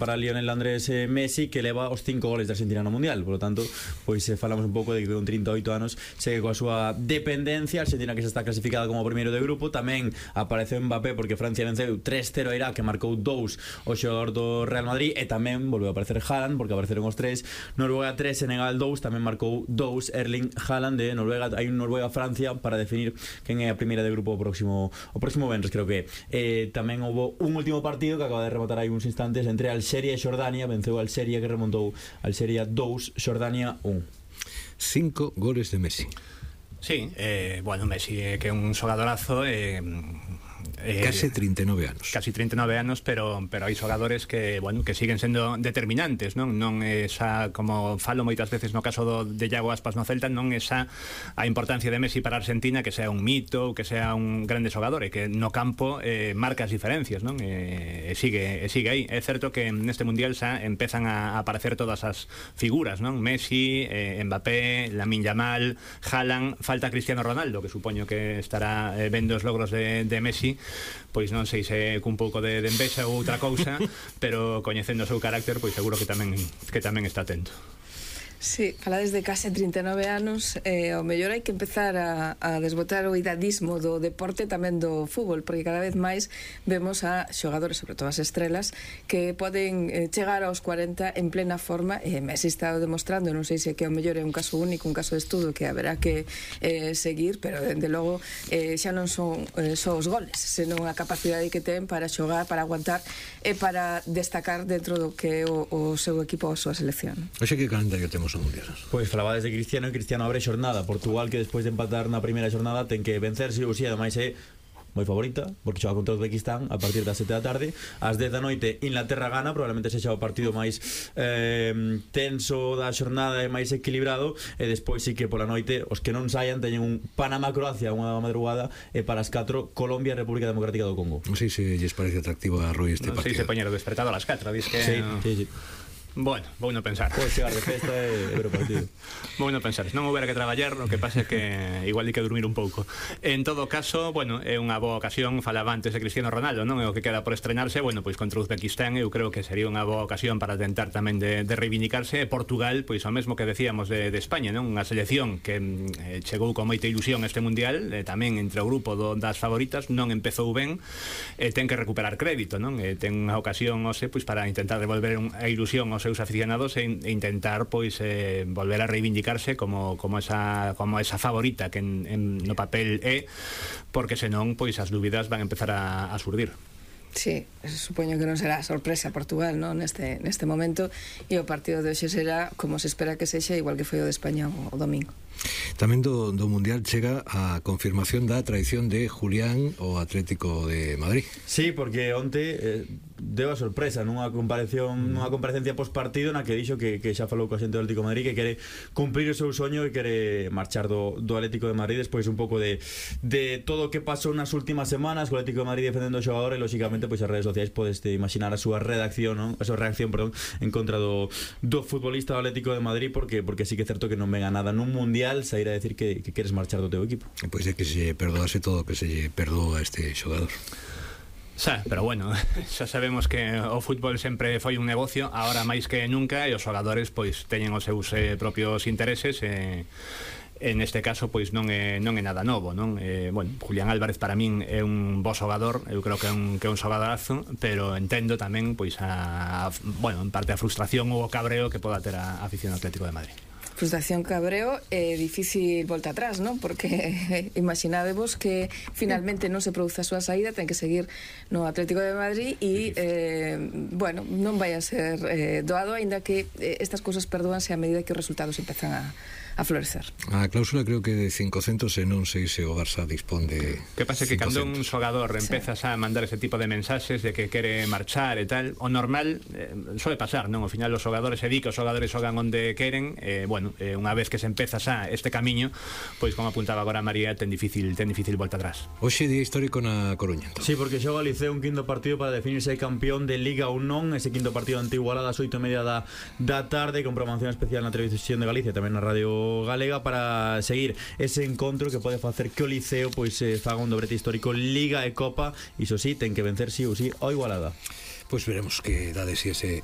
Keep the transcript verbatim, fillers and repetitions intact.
para Lionel Andrés eh, Messi, que leva os cinco goles de Argentina no Mundial. Por lo tanto, pois eh, falamos un pouco de que con trinta e oito anos segue coa súa dependencia. Argentina que xa está clasificada como primeiro de grupo. Tamén apareceu Mbappé porque Francia venceu tres cero a Irak, que marcou dous o xogador do Real Madrid, e tamén volveu a aparecer Haaland porque apareceron os tres. Noruega tres, Senegal dous, tamén marcou dous Erling Haaland de Noruega. Hai un Noruega-Francia para definir quen é a primeira de grupo o próximo o próximo venres, creo que eh, tamén houve un último partido que acaba de rematar hai uns instantes entre Alxeria e Xordania. Venceu Alxeria, que remontou Alxeria dous, Xordania un. Cinco goles de Messi. Sí, eh, bueno, Messi eh, que é un xogadorazo, eh, eh, case trinta e nove anos. Casi trinta e nove anos, pero pero hai xogadores que, bueno, que siguen sendo determinantes, non? Non esa, como falo moitas veces no caso do de Iago Aspas no Celta, non esa a importancia de Messi para Argentina, que sea un mito, que sea un grande xogador, e que no campo eh, marca as diferencias, non? E, e sigue, e sigue aí. É certo que neste Mundial xa empezan a aparecer todas as figuras, non? Messi, eh, Mbappé, Lamine Yamal, Haaland, falta Cristiano Ronaldo, que supoño que estará eh, vendo os logros de, de Messi. Pois non sei se cun pouco de, de envexa ou outra cousa, pero coñecendo o seu carácter, pois seguro que tamén que tamén está atento. Sí, falades de case trinta e nove anos, eh, ao mellor hai que empezar a, a desbotar o idadismo do deporte, tamén do fútbol, porque cada vez máis vemos a xogadores, sobre todo as estrelas, que poden eh, chegar aos cuarenta en plena forma, e Messi está demostrando, non sei se que ao mellor é un caso único, un caso de estudo que haberá que eh, seguir, pero dende logo eh, xa non son eh, só os goles, senón a capacidade que ten para xogar, para aguantar e para destacar dentro do que é o, o seu equipo ou a súa selección. Oxe, que calendario temos ao Mundial? Pois falabades de Cristiano, e Cristiano abre xornada. Portugal, que despois de empatar na primeira xornada ten que vencer si ou si, ademais é moi favorita porque xoga contra o Uzbekistán a partir das sete da tarde. Ás dez da noite Inglaterra gana, probablemente sexa o partido máis eh, tenso da xornada e máis equilibrado, e despois sí que pola noite os que non saian teñen un Panamá-Croacia unha madrugada, e para as catro Colombia-República Democrática do Congo. Non sei se lles parece atractivo a Rui este no, partido. Si se poñer o despertado a las catro, dis que sí, no... sí, sí. Bueno, vou non pensar. Pode chegar de festa e ver o partido. Vou non pensar, se non houbera que traballar, o que pasa é que igual hai que dormir un pouco. En todo caso, bueno, é unha boa ocasión. Falaba antes de Cristiano Ronaldo, non? É o que queda por estrenarse. Bueno, pois contra Uzbekistán eu creo que sería unha boa ocasión para tentar tamén de, de reivindicarse. E Portugal, pois o mesmo que decíamos de, de España, non? Unha selección que eh, chegou con moita ilusión este Mundial, eh, tamén entre o grupo do, das favoritas, non empezou ben, e eh, ten que recuperar crédito, non? Eh, ten unha ocasión, ose, pois para intentar devolver un, a ilusión aos seus aficionados e intentar pois eh, volver a reivindicarse como, como, esa, como esa favorita que en, en, no papel é, porque senón pois as dúbidas van a empezar a, a surdir. Sí, supoño que non será sorpresa Portugal, non? Neste, neste momento, e o partido de hoxe será como se espera que sexa, igual que foi o de España o, o domingo. Tamén do, do Mundial chega a confirmación da traición de Julián ao Atlético de Madrid. Sí, porque onte eh, deu a sorpresa nunha comparación, nunha comparecencia postpartido na que dixo que, que xa falou coa xente do Atlético de Madrid, que quere cumprir o seu soño e quere marchar do, do Atlético de Madrid despois un pouco de, de todo o que pasou nas últimas semanas co Atlético de Madrid defendendo o xogador, e lógicamente pois as redes sociais podes imaginar a súa redacción, non? A súa reacción, perdón, en contra do, do futbolista do Atlético de Madrid, porque porque sí que é certo que non venga nada nun Mundial sair a decir que, que queres marchar do teu equipo. Pois é que se perdoase todo o que se lle perdoa a este xogador. Xa, pero bueno, xa sabemos que o fútbol sempre foi un negocio, agora máis que nunca, e os xogadores pois teñen os seus eh, propios intereses, e en este caso pois non é non é nada novo, non? Eh, bueno, Julián Álvarez para min é un bo xogador, eu creo que é un que é un xogadorazo, pero entendo tamén pois a, bueno, en parte a frustración ou o cabreo que poda ter a afición ao Atlético de Madrid. Frustración, cabreo e difícil volta atrás, non? Porque imaginadevos que finalmente non se produce a súa saída, ten que seguir no Atlético de Madrid e, eh, bueno, non vai a ser eh, doado, aínda que eh, estas cousas perdóanse a medida que os resultados empezan a a florecer. A cláusula creo que de cincocentos, e non sei se o Barça dispón de que pasa que cando un xogador empezas a mandar ese tipo de mensaxes de que quere marchar e tal, o normal eh, suele pasar, non? Ao final os xogadores se di que os xogadores xogan onde queren, eh, bueno, eh, unha vez que se empeza xa este camiño, pois como apuntaba agora María, ten difícil ten difícil volta atrás. Hoxe día histórico na Coruña. Sí, porque xoga o Liceo un quinto partido para definirse campeón de Liga ou non. Ese quinto partido ante Igualada ás oito e media da, da tarde, con programación especial na Televisión de Galicia, tamén na Radio Galega, para seguir ese encontro que pode facer que o Liceo pois eh, faga un dobrete histórico Liga e Copa. Iso sí, ten que vencer sí ou sí ao Igualada. Pois veremos que dade si ese,